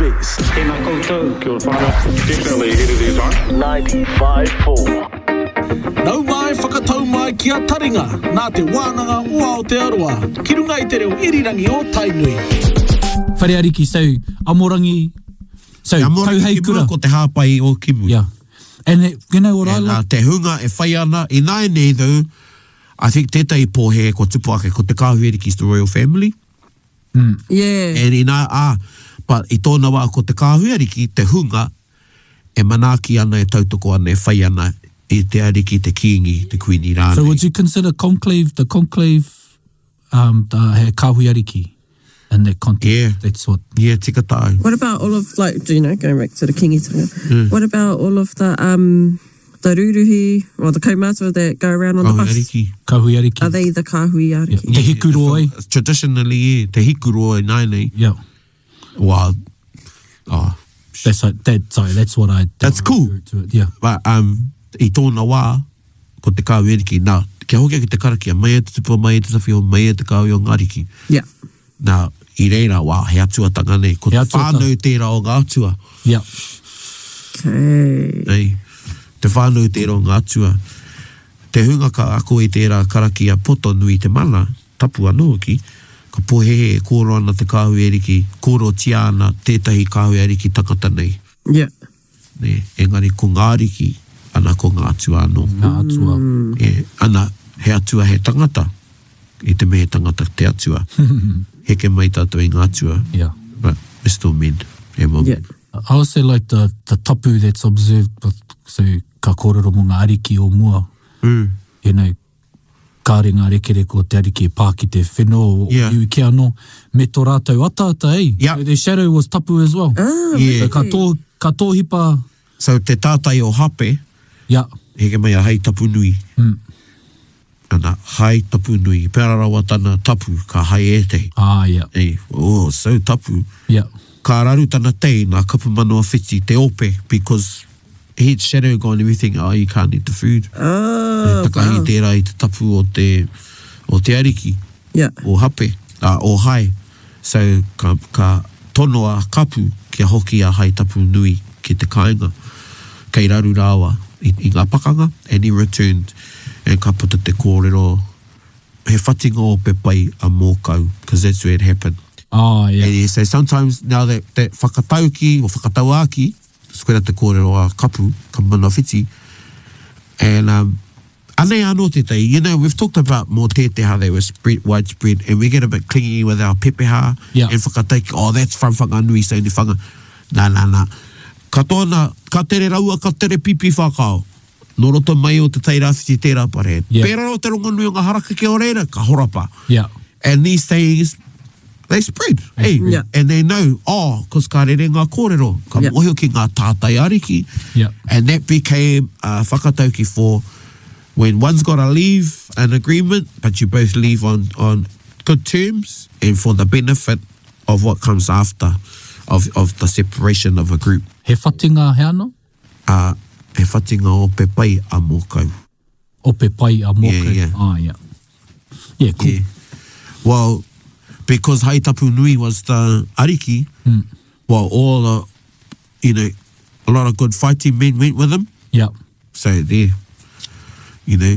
best. Tēnā koutou. Kia ora whānau. Definitely ahead of their time. 95.4. Nau mai, whakatau mai ki a Taringa, nā Te Wānanga o Aotearoa, ki runga i te reo irirangi o Tainui. Whare Ariki, so Amorangi, so Te amorangi ki Tauheikura. mua, ko te hāpai o ki muri. Yeah. And it, you know what I And, uh, like? te hunga e whai ana, ināianei though, I think tētahi pōhēhē kua tupu ake ko te kāhui ariki is the royal family. Yeah. And inā, ā, but i tōna wā ko te kāhui ariki te hunga e manaaki ana, e tautoko ana, e whai ana i te ariki, te kīngi, te kuini rānei. So would you consider conclave, the conclave, um, the, he kāhui ariki in that context? Yeah. That's what. Yeah, tika tāu. What about all of like you know going back to the Kingitanga? Mm. What about all of the um the ruruhi or the kaumātua that go around on the Kāhui bus? ariki. Kāhui ariki. Are they the kāhui ariki? Yeah. Te hikuroa. Traditionally, yeah, te hikuroa ināianei. Yeah. Well, oh. That's what, that, sorry, that's what I... That's cool. To it, yeah. But, um, i tōna wā, ko te kāhui ariki. Nā, kia hoki ake te karakia, mai e te tupua, mai e te tawhio, mai e te kāhui o ngā ariki. Yeah. Nā, i reira wā, he atuatanga nei. Ko He te atuatanga. whānau tērā o ngā atua. Yeah. Okay. Nei, te whānau tērā o ngā atua. Te hunga ka ako i tērā karakia poto nui te mana, tapu anō hoki, ka pōhēhē e kōrero ana te kāhui ariki, kōrerotia ana tētahi kāhui ariki tangata nei. Yeah. Nē, engari ko ngā ariki, ana ko ngā atua anō. Ngā atua. E, ana, he atua he tangata, i te mea he tangata te atua. Heke mai tātou i ngā atua. Yeah. But we're still men. E women. Yeah. I also like the, the tapu that's observed with, so ka kōrero mō ngā ariki o mua. Mm. You know, kāre ngā rekereke o te ariki e pā ki te whenua o Yeah. iwi kē anō, me tō rātou ataata, eh? Yeah. So their shadow was tapu as well. Ah, Yeah. So ka tō, ka tōhipa, So te tātai o Hape, yeah. heke mai a Hai Tapu Nui. Mm. Ana, Hai Tapu Nui. Pērā rawa tana tapu, ka hai ētehi. Ah, yeah. Ei, oh, so tapu. Yeah. Ka raru tana tei, nā Kapu Manawa Whiti, te ope, because he'd shadow gone everything, oh, you can't eat the food. Oh, He takahi wow. tērā i te tapu o te, o te ariki, Yeah. o Hape, uh, o Hai. So, ka, ka tono a Kapu kia hoki a Hai Tapu Nui ki te kāinga. Kei raru rāua i, i ngā pakanga, and he returned, and ka puta te kōrero, he whatinga ope pai a Mōkau, because that's where it happened. Ah, yeah. And he say sometimes now that, that whakatauki or whakatauāki, koira te kōrero a Kapu, ka mana whiti, and um, anei anō tētahi, you know, we've talked about mō tēte how they were spread, widespread, and we get a bit clingy with our pepeha, Yeah. and whakatauki, oh, that's from Whanganui, so ni whanga, nā, nā, nā. Katoa nā, ka tere raua, ka tere pipi whakao. Nō roto mai o te Tairāwhiti tērā pare. Yeah. Pērā o te rongonui o ngā harakeke o reira, ka horapa. Yeah. And these things, they spread. Hey, Yeah. And they know, oh, cause ka rere ngā kōrero, ka Yeah. mōhio ki ngā tātai ariki. Yeah. And that became a whakatauki for when one's got to leave an agreement, but you both leave on, on good terms and for the benefit of what comes after of, of the separation of a group. He whatinga he ano? Uh, he whatinga ope pai a mōkau. Ope pai a mōkau. Yeah, yeah. Ah, yeah. Yeah, cool. Yeah. Well, because Hai Tapu Nui was the ariki, well, all the, you know, a lot of good fighting men went with him. Yeah. So there, you know,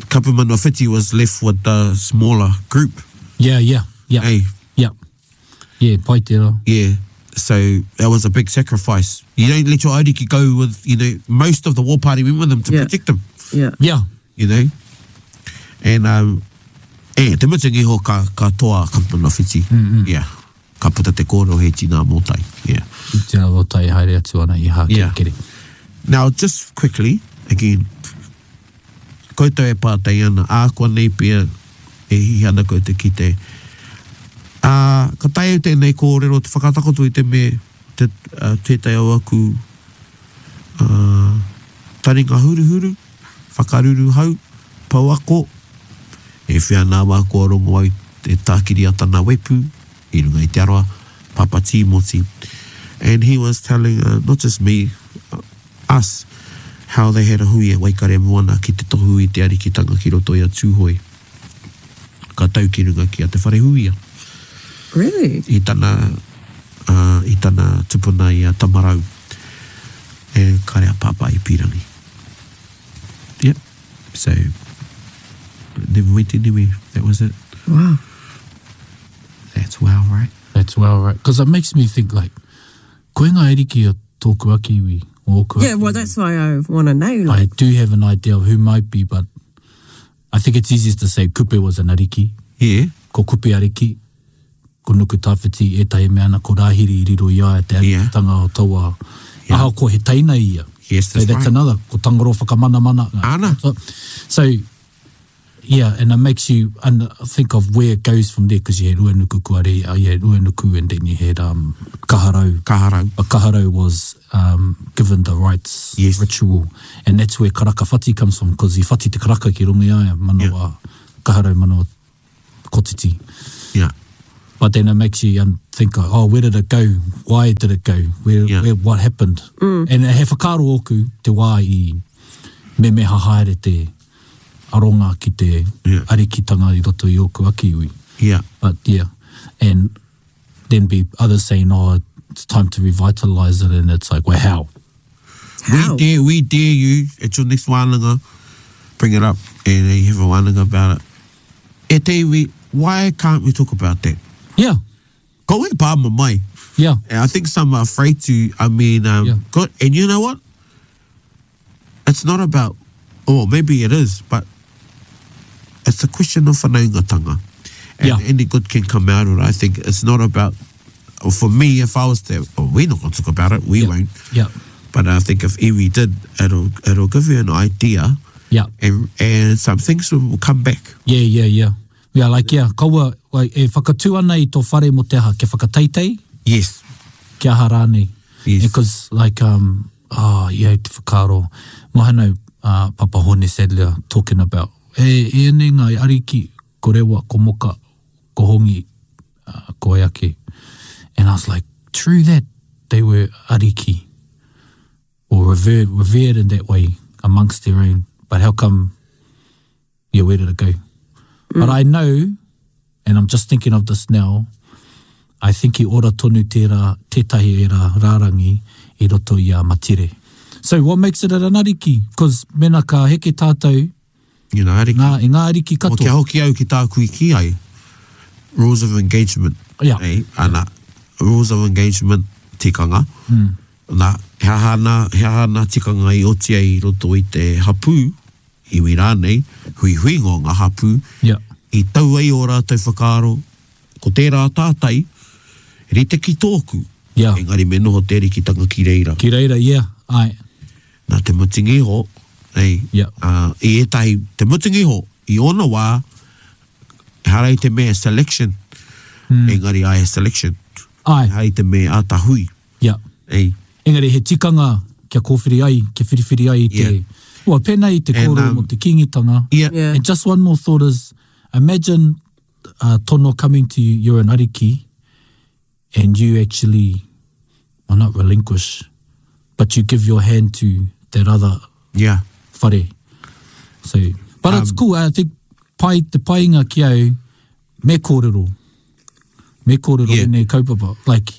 Kapumana Whiti was left with the smaller group. Yeah, yeah, yeah. Hey. Yeah. Yeah, pai tērā. Yeah. So that was a big sacrifice. You don't let your ariki go with, you know, most of the war party went with them to Yeah. protect them. Yeah. Yeah. You know? And, um, e, te mutunga iho ka, ka toa Kapumana Whiti. Mm -hmm. Yeah. Ka puta te kōrero he tina mōtai. Yeah. Tina mōtai haere atu ana i Hākerekere. Yeah. Now, just quickly, again, koutou e pātai ana, ā, kua nei pia e hihi ana koutou ki te, ā, ka taea tēnei kōrero te whakatakoto i te me, te, uh, tētahi o aku uh, taringa huruhuru, whakaruru hau, pouako, e whia nā wā kua rongo au e tākiri a tana wepu, i runga i te aroa, Papa Tīmoti. And he was telling, uh, not just me, uh, us, how they had a hui e Waikare Moana ki te tohu i te arikitanga ki roto i a Tūhoe. Ka tau ki runga ki a Te Wharehuia. Really? I tana uh, uh, i tana tupuna i a Tamarau. E kare a Pāpā i pīrangi. Yep. So, never went anywhere. That was it. Wow. That's wow, right? That's wow, right? Because it makes me think, like, koe ngā ariki o tōku ake iwi, o ōku Yeah, ake well, iwi. that's why I want to know. I Like, do have an idea of who might be, but I think it's easiest to say Kupe was an ariki. Yeah. Ko Kupe ariki, ko Nukutawhiti ētahi mea ana, ko Rāhiri i riro i a ia te arikitanga o taua, Yeah. ahakoa he teina ia. Yes, So that's that's right. another, ko Tangaroa whakamanamana. Ana. So, yeah, and it makes you and think of where it goes from there, because you had Uenuku Kuare, you had Uenuku and then you had um, Kaharau. Kaharau. But Kaharau was um, given the rites Yes. ritual, and that's where Karaka Whati comes from, because i whati te karaka ki runga i a ia, manawa, Kaharau manawa kotiti. Yeah. But then it makes you um, think, oh, where did it go? Why did it go? Where, Yeah. where what happened? And he whakaaro ōku te wā i memeha haere te aronga ki te Yeah. arikitanga i roto i ōku ake iwi. Yeah. But yeah, and then be others saying, oh, it's time to revitalize it, and it's like, well, how? how? We dare, we dare you at your next wānanga, bring it up and you have a wānanga about it. E te iwi, why can't we talk about that? Yeah, Ko e pā mai. yeah, And I think some are afraid to, I mean, um, Yeah. good. And you know what? It's not about, or maybe it is, but it's a question of whanaungatanga. And Yeah. any good can come out of it. I think it's not about, for me, if I was to, oh, we're not going to talk about it, we yeah, won't. yeah, But I think if iwi did, it'll, it'll give you an idea yeah. and, and some things will come back. Yeah, yeah, yeah. Yeah, like, yeah, kaua, like, e whakatū ana i tō whare mo te aha, kia whakateitei, Yes. kia aha rānei. Yes. Because, like, um, oh, yeah, te whakaaro, mohano, uh, Papa Hone Sadler talking about, e, e ene ngā ariki, ko rewa, ko moka, ko hongi, uh, ko eake. And I was like, true that, they were ariki, or revered, revered in that way amongst their own. But how come, yeah, where did it go? But I know, and I'm just thinking of this now, I think i ora tonu tērā, tētahi era rārangi i roto i a Matire. So what makes it an ariki? Because mena ka heke tātou You know, ariki. ngā, i ngā ariki Mo kia katoa. hoki au ki tāku i ki ai, rules of engagement. Yeah. Eh, ana, rules of engagement tikanga. Hmm. Nā, he aha nā, he aha nā tikanga i oti ai i roto i te hapū, iwi rānei, hui huinga o ngā hapū, Yeah. i tau ai o rātou whakaaro, ko tērā tātai, rite ki tōku. Yeah. Engari me noho te arikitanga ki reira. Ki reira, yeah, ai. Nā te mutunga iho, ei, Yeah. uh, i ētahi, te mutunga iho, i ōna wā, ehara i te mea selection, engari ai he selection. Ai, Ehara i te mea āta hui. yeah. Ei, Engari he tikanga kia kōwhiri ai, kia whiriwhiri ai i te... Yeah. Well, pēnā i te And, kōrero um, mo te kīngitanga. yeah. Yeah. And just one more thought is, imagine uh, tono coming to you, you're an ariki, and you actually, well, not relinquish, but you give your hand to that other Yeah. whare. So, but it's cool. I think pai, te painga ki au, me kōrero. Me kōrero Yeah. yeah. kaupapa. Like,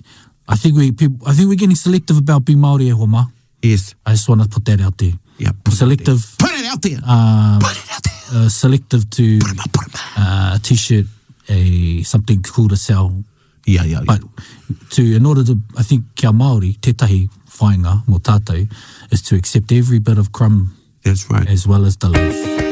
I think we people, I think we're getting selective about being Māori e hoa mā. Yes. I just want to put that out there. Yeah. Put it out there. Selective, Put it out there. put it out there. selective to Put 'em up, put 'em up. a t-shirt, a something cool to sell. Yeah, yeah, yeah. But to in order to, I think kia Māori, tētahi whainga mō tātou, is to accept every bit of crumb That's right. as well as the loaf.